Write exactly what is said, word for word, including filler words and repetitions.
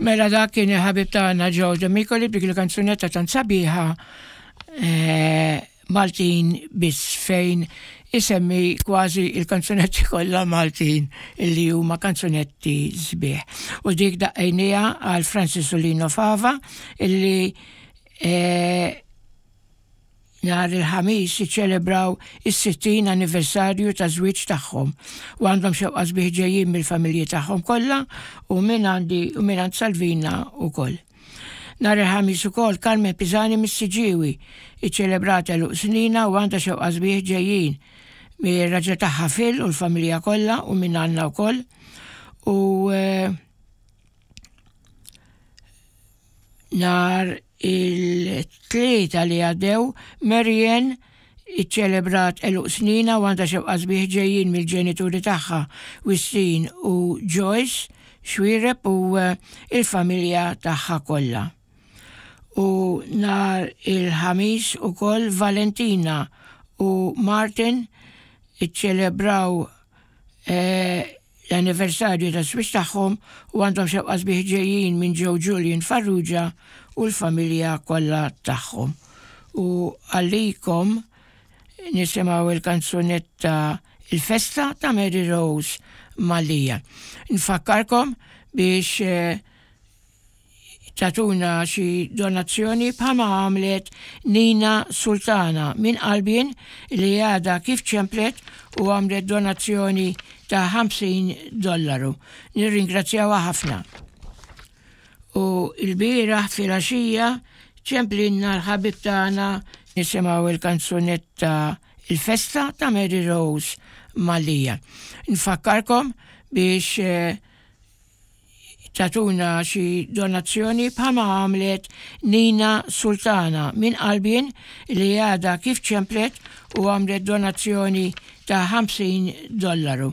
Mela dak kien il-ħabib tagħna Joe Demicoli b'dik il-kanzunetta tant sabiħa eh, Maltin biss, fejn isemmi kważi il-kanzunetti kollha Maltin illi huma kanzunetti sbieħ. U dik daqqejnieha għal Francis u Lino Fava illi eh, nhar il-Ħamis iċċelebraw is-sittin anniversarju ta' żwieġ tagħhom u għandhom xewqa sbieħ ġejjin mill-familji tagħhom kollha u minn għandi u minn għand Salvina ukoll. Nhar il-Ħamis ukoll Carmen Pisani mis-Siġġiewi iċċelebrat għeluq sninha u għandha xewqa sbieħ ġejjin mir-raġel tagħha Phil u l-familja kollha u minn għandna wkoll. U eh, nhar il-Tlieta li għaddew Marian iċċelebrat għeluq sninha u għandha xewqa sbieħ ġejjin mill-ġenituri tagħha Wistin u Joyce Xwireb u eh, il-familja tagħha kollha. U nhar il-Ħamis ukoll Valentina u Martin iċċelebraw eh, l-anniversarju ta' żwieġ tagħhom u għandhom xewqa sbieħ ġejjin minn Joe Julian Farrugia u l-familja kollha tagħhom. U għalikom nisimgħu il-kanzunetta Il-Festa ta' Mary Rose Mallia. Nfakkarkom biex eh, tagħtuna xi donazzjoni bħalma għamlet Nina Sultana minn Qalbien li għadha kif ċemplet u għamlet donazzjoni ta' ħamsin dollaru. Nirringrazzjawha ħafna. U l-bieraħ filgħaxija ċemplinna l-ħabib tagħna. Nisimgħu il-kanzunetta Il-Festa ta' Mary Rose Mallia. Nfakkarkom biex eh, tagħtuna xi donazzjoni bħalma għamlet Nina Sultana minn Qalbien li għadha kif ċemplet u għamlet donazzjoni ta' ħamsin dollaru.